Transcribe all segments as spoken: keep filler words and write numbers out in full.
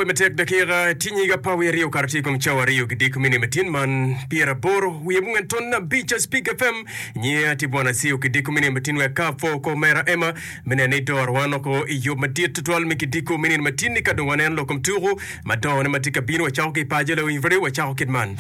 Matek dakika tye nyig apar wiye aryo okato tye i kom cawa aryo ki diko mini matin man pyeraboro wiye abongwen ton abic Speak F M nyinga tye Bwana Acio ki diko mini matin wek ka apwo ko mera Emma me neno ni doro wan oko i yub madit tutwal me kidiko mini matin ni ka dong waneno lok kom tuku madongo ne ma tye ka bino wacako ki i paco lawiny radio wacako kit man.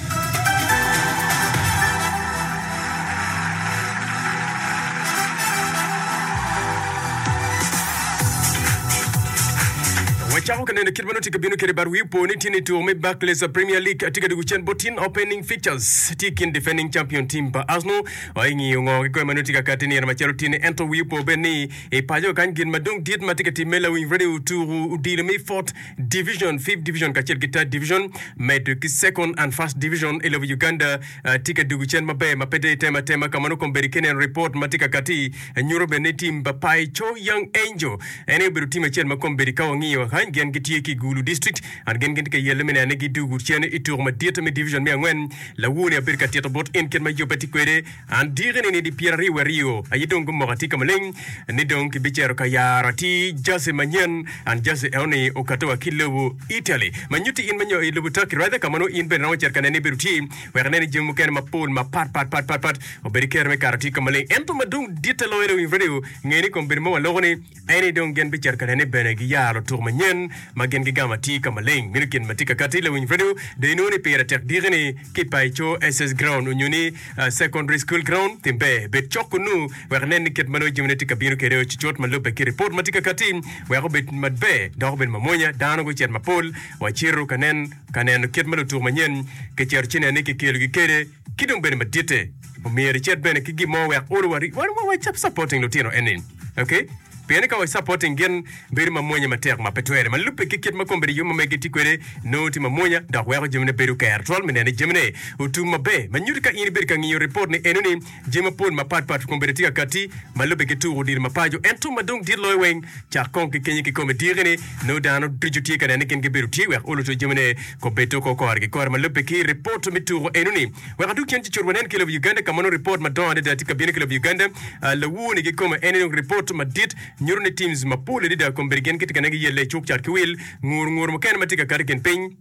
Wacako ka neno kit ma nongo tye ka bino kwede but wi opo ni tye ni tuko me Barclays Premier League tye ka dwogo cen bot tin opening fixtures tye i kin defending champion team pa Arsenal wa i ngiyo ngo kikome ma nongo tye ka kati nino macalo tye ni ento wi opo bene ni i paco kany gin ma dong dit ma tye ka timme lawiny radio tuko odilo me fourth division, fifth division kacel ki third division medo ki second and first division i lobo Uganda tye ka dwogo cen maber ma pe dong itemo atema ka ma nongo kombeddi ka ineno ripot ma tye ka kati nyuto bene ni tim pa Pai Cho Young Angel en aye obedo tim acel ma kombeddi ka wangiyo kany gin gitye ki i Gulu District and gin gitye ka yelle me neno ni gidwogo cen i tuko madit me division me angwen. Lawoni abedo ka tito bot in kit ma yubbe tye kwede and diki-ni nidi pyeraryo wiye aryo aye dong gumoko atika maleng ni dong kibicito ka yaro atir jersey manyen and jersey enoni okato wa ki lobo Italy ma nyutti in ma nyo i lobo Turkey rather ka ma nongo in bene romo cito ka nene ibedo tye wek inen ni jami mukene mapol mapat pat pat pat pat obedo kero me kato tye ka maleng. Ento ma dong ditte loyo lawiny radio nge ni kombeddi ma waloko ni en ni dong gin bicito ka nene bene giyaro lutuku manyen ma gin gigamo atir ka maleng. Meno gin ma tye ka kati lawiny radio dong inongo ni pire tek diki ni ki paco S S ground onyo ni secondary school ground tim ber bed cok kunu wek inen ni kit ma nongo jamine tye ka bino kwede ocucut ma lubbe ki ripot ma tye ka kati wek obed maber dok obed mamwonya dano gucit mapol wacito ka nen ka neno kit ma lutuku manyen kicito ci neno ni kikelogi kwede ki dong bene maditte omyero icit bene ki gin mo wek olo wa wa supporting lutino eni okay pien ni ka wa supporting gin bedo mamwonya matek ma pe twere ma lubbe ki kit ma kombeddi yub ma megi tye kwede nongo tye mamwonya dok weko jamine bedo ker twal me neno ni jamine otum maber ma nyuto ka in ibedo ka ngiyo ripot ni eno ni jami mapol mapat pat kombeddi tye ka kati ma lubbe ki tuko odilo ma paco ento ma dong dit loyo weng cak kong ki kenyo kikome diki ni nongo dano ducu tye ka neno ni gin gibedo tye wek olo to jamine kobedo ko kore ki kore ma lubbe ki ripot me tuko eno ni wek adug cen ci cut wanen ki lobo Uganda ka ma nongo ripot madongo adada tye ka bino ki lobo Uganda lawur ni kikome en ni ripot madit nyuto ni teams mapol adada kombeddi gin gitye ka neno giyelle i cuk cat ki wil ngur ngur mukene ma tye ka kato i kin piny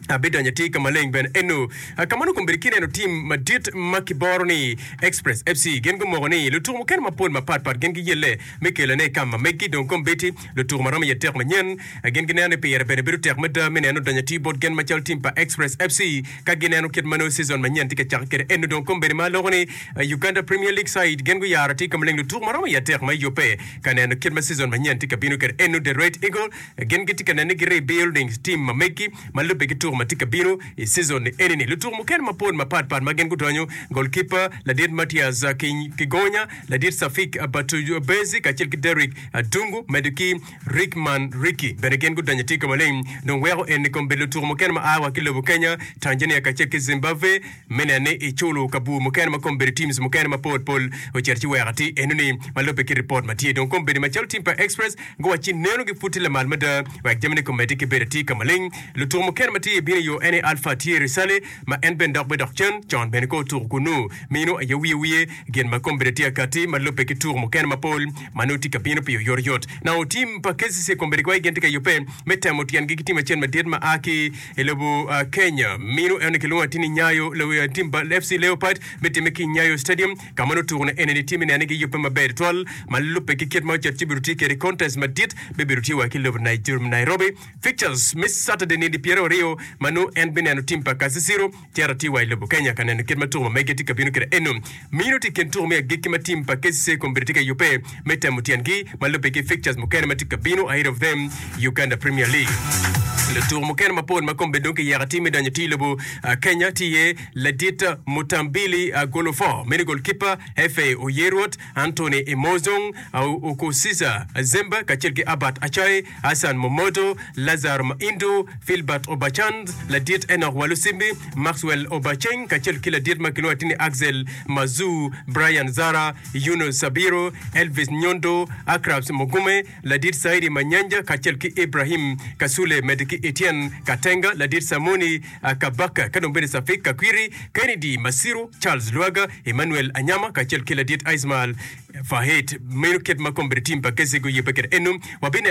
abidonyo atir ka maleng bene eno ka ma nongo kombeddi kineno tim madit ma kiboro ni Express F C gin gumoko ni lutuku mukene mapol mapat pat gin giyelle me kelone i kam ma meggi dong kombeddi lutuku ma romo iye tek manyen gin gineno ni pire bene bedo tek mada me neno donyo atir bot gin macalo tim pa Express F C ka gineno kit ma nongo season manyen tye ka cake kwede eno dong kombeddi ma aloko ni Uganda Premier League side gin guyaro atir ka maleng lutuku ma romo iye tek ma iyubbe ka neno kit ma season manyen tye ka bino kwede eno The Red Eagle gin gitye ka neno ni gi-rebuilding team ma meggi ma lubbe ki tuko ma tye ka bino i season ni eni ni lutuku mukene mapol mapat pat ma gin gudonyo goalkeeper ladit Mathias Kigonya ladit Safik Batubezi kacel ki Derrick Dungu medo ki Rickman Ricky bene gin gudonyo atir ka maleng dong weko eni kombeddi lutuku mukene ma a wa ki lobo Kenya Tanzania kacel ki Zimbabwe me neno ni iculo kabur mukene ma kombeddi teams mukene mapol pol ocito ci weko atir eno ni ma lubbe ki ripot ma tye dong kombeddi macalo team pa Express guwacci neno gi pud tye lamal mada wek jamine komeddi ki bedo atir ka maleng lutuku mukene ma tye bino i yo en Alpha tye Risale ma en bene dok bene dok cen con bene ko otuko kunu mino aye wiye wiye gin ma kombeddi tye akati ma lubbe ki tuko mukene mapol ma nongo tye ka bino pi oyotoyot na tim pa K C C kombeddi kwa gin tye ka yubbe me temo tyengi ki tim acel madit ma a ki i lobo Kenya mino en kilwongo atir ni Nyayo tim pa F C Leopard me timme ki Nyayo Stadium ka ma nongo tuko ne eni ni tye me neno ni giyubbe maber twal ma lubbe ki kit ma ocito ci bedo tye kwede contest madit me bedo tye wa ki lobo Nairobi fixtures me Saturday nindi pyeraryo aryo ma nongo en bineno tim pa Kasisiro cito tye wa i lobo Kenya ka neno kit ma tuko ma mege tye ka bino kwede eno mino tye i kin tuko me agikki ma tim pa K C C kombeddi tye ka yubbe me temo tyengi ma lubbe ki fixtures mukene ma tye ka bino ahead of them Uganda Premier League lutuko mukene mapol ma kombeddi dong kiyeko atir me donyo tye i lobo Kenya tye iye ladit Mutambili Golofo meno goalkeeper F A Oyerwot Anthony Emozong Okusisa Zemba kacel ki Albert Achai Hassan Momoto Lazaro Maindo Philbert Obachand ladit Enoch Walusimbi Maxwell Obacheng kacel ki ladit ma kilwongo atir ni Axel Mazu Brian Zara Yunus Sabiro Elvis Nyondo Akrabs Mugume ladit Saidi Manyanja kacel ki Ibrahim Kasule medo ki Etienne Katenga ladit Samoni Kabaka ka dong bene Safik Kakwiri Kennedy Masiru Charles Lwaga Emmanuel Anyama kacel ki ladit Ismail Fahit meno kit ma kombeddi tim pa K C C guyubbe kwede eno wabineno